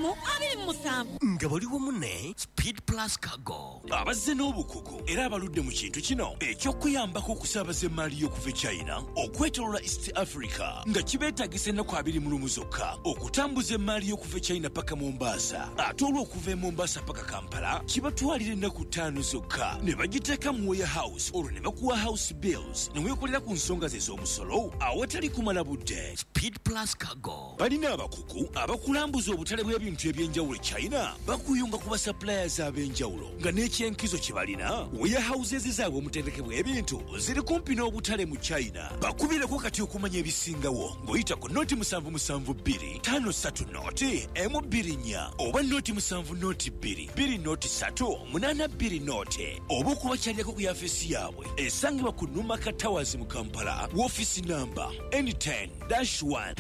27. Nga bali wamu ne Speed Plus Cargo. Abazze n'obukugu era abaludde mu kintu kino eky'okuyambako okusaabaza emaali y'okuva e China okwetoloola East Africa, nga kibeetagisa ennaku 21 zokka okutambuza emaali y'okuva e China paka Mombasa, ate olw'okuva e Mombasa paka Kampala kibatwalira ennaku 5 zokka, ne bagiteeka mu warehouse, olwo ne bakuwa house bills ne weekolera ku nsonga ze ez'omusolo awatali kumala budde. Speed Plus Cargo. Balina abakugu abakulambuza obutale bw'ebintu ebyenjawulo e China, bakuyunga ku basuppliers ab'enjawulo, nga n'ekyenkizo kye balina warehouses zaabwe omuterekebwa ebintu ziri kumpi n'obutale mu China. Bakubireko kati okumanya ebisingawo ng'oyita ku 077 253 0 M24 oba 070 2 2 03 82 oba okubakyalirako ku yafeesi yaabwe esangibwa ku Numaka Towers mu Kampala, woofiisi namba N10-1.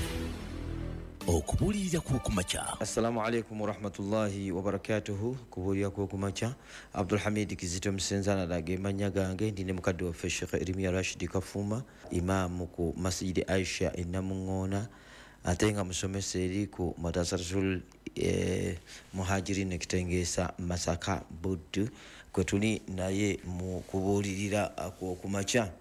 Okubuulirira kw'okumakya. Assalamu alaikum warahmatullahi wabarakatuhu. Kubuulira kw'okumakya, Abdulhamid Kizito Musenzana ge mannya gange. Ndi ne mukadde waffe Sheikh Erimiya Rashidi Kafuuma, imaamu ku Masjidi Aisha e Namuŋŋoona, ate nga musomesa eri ku Madrasatul Muhajirin Ekitengeesa, Masaka, Buddu, kwe tuli naye mu kubuulirira kw'okumakya.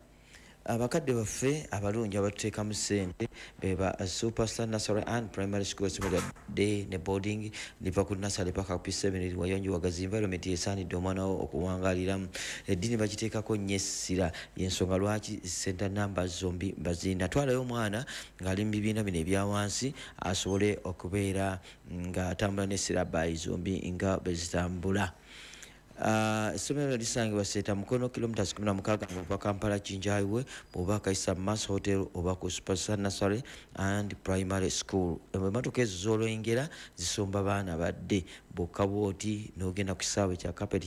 Abakadde baffe abalungi abatuteekamu ssente beba Superstar Nursery and Primary School, essomero lya day ne boarding, liva ku nursery paka P7, eri wayonjo, wagazi, environment esaanidde omwana wo okuwangaaliramu. Eddiini bagiteekako nnyo essira, yensonga lwaki center numbers zombi bazirina. Twalayo omwana ng'ali mu bibiina bino ebya wansi asobole okubeera ng'atambula ne syllabi zombi nga bwe zitambula. Essomero lisangibwa Seeta Mukono, kilometers 16 ng'ova Kampala Jinja Highway, bw'oba Kaisa Mass Hotel oba ku Superstar Nursery and Primary School. Emmotoka ezo z'olengera zisomba baana badde bokka bw'oti n'ogenda ku kisaawe kya carpet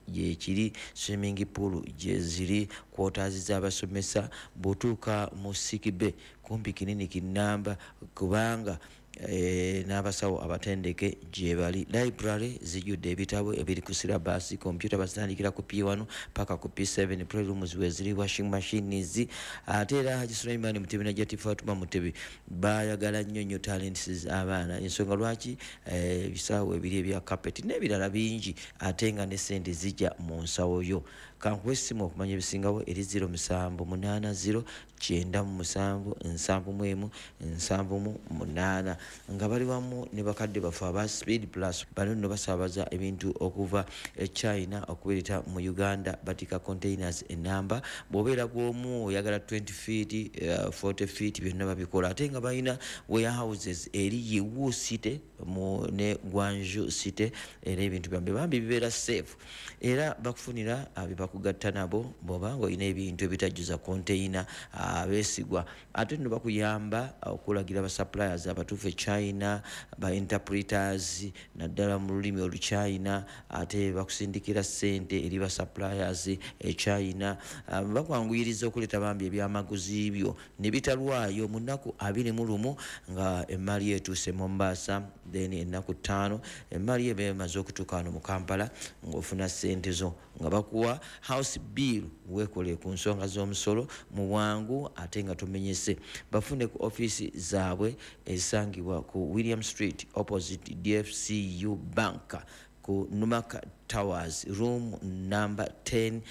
gyekiri, swimming pool gye ziri, quarters z'abasomesa. Bw'otuuka mu sick bay kumpi kinini kinnamba, kubanga n'abasawo abatendeke gye bali. Library zijjudde ebitabo ebiri ku syllabus, computer bazitandikira ku P1 paka ku P7, playrooms weziri, washing machines. Ate era Haji Sulaiman Mutebi ne Jati Fatuma Mutebi bayagala nnyo nnyo talents abaana, ensonga lwaki ebisaawe ebiri ebya carpet n'ebirala bingi, ate nga ne ssente zijja mu nsawo yo. Kankuwa essimu okumanya ebisingawo eri 0780 97 71 78, nga bali wamu ne bakadde baffe aba Speed Plus. Bano nno basaabaza ebintu okuva e China okubireeta mu Uganda, batika containers enamba. Bw'obeera bw'omu oyagala 20 feet, 40 feet, byonna babikola, ate nga balina warehouses eri Yiwu City mu ne Guangzhou City, era ebintu byambe bambi bibeera safe, era bakufunira bye bakugatta nabo bw'oba ng'olina ebintu ebitajjuza container, abeesigwa. Ate nno bakuyamba okulagira ba suppliers abatuufu e China, ba interpreters naddala mu lulimi Oluchina, ate bakusindikira ssente eri ba suppliers e China. Bakwanguyiriza okuleeta bambi ebyamaguzi byo ne bitalwayo mu nnaku 21 nga emaali etuuse Mombasa, then ennaku 5 emaali eba emaze okutuuka wano mu Kampala ng'ofuna ssente zo, nga bakuwa house bill weekole ku nsonga z'omusolo mu bwangu ate nga tomenyese. Bafune ku ofiisi zaabwe ezisangibwa ku William Street opposite DFCU Bank, ku Numaka Towers, room number 10-1,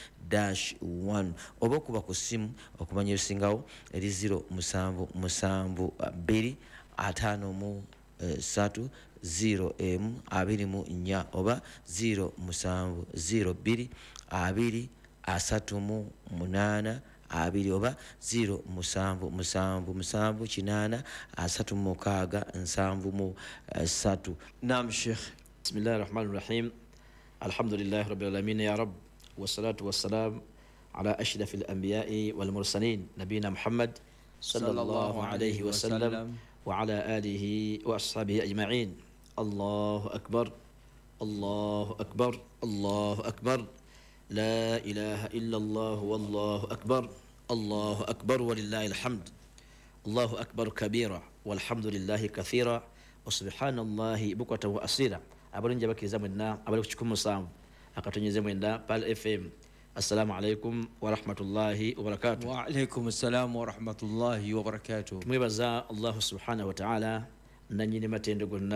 oba okuba ku ssimu okumanya ebisingawo eri 0772 53 0 m 24 oba 0702 2 38 2 oba 0777 8 36 73. Naam Sheikh. Bismillahi rahmani rahim. Alhamdulillahi rabbil alamin ya rab, wassalatu wassalam ala ashrafil anbiya'i wal mursalin nabina Muhammad sallallahu alayhi wa sallam wa ala alihi wa ashabihi ajma'in. Allahu akbar, Allahu akbar, Allahu akbar, la ilaha illa Allah wallahu akbar, Allahu akbar walillahi alhamd, Allahu akbar kabira walhamdulillahi kathira wa subhanallahi bukratan wa asira. Abalungi abakkiriza mwenna abali ku 107.9 Pearl FM, assalamu alaikum warahmatullahi wabarakatuh. Wa alaikum assalam warahmatullahi wabarakatuh. Tumwebaza Allahu subhanahu wa ta'ala nanyini matendo gonna.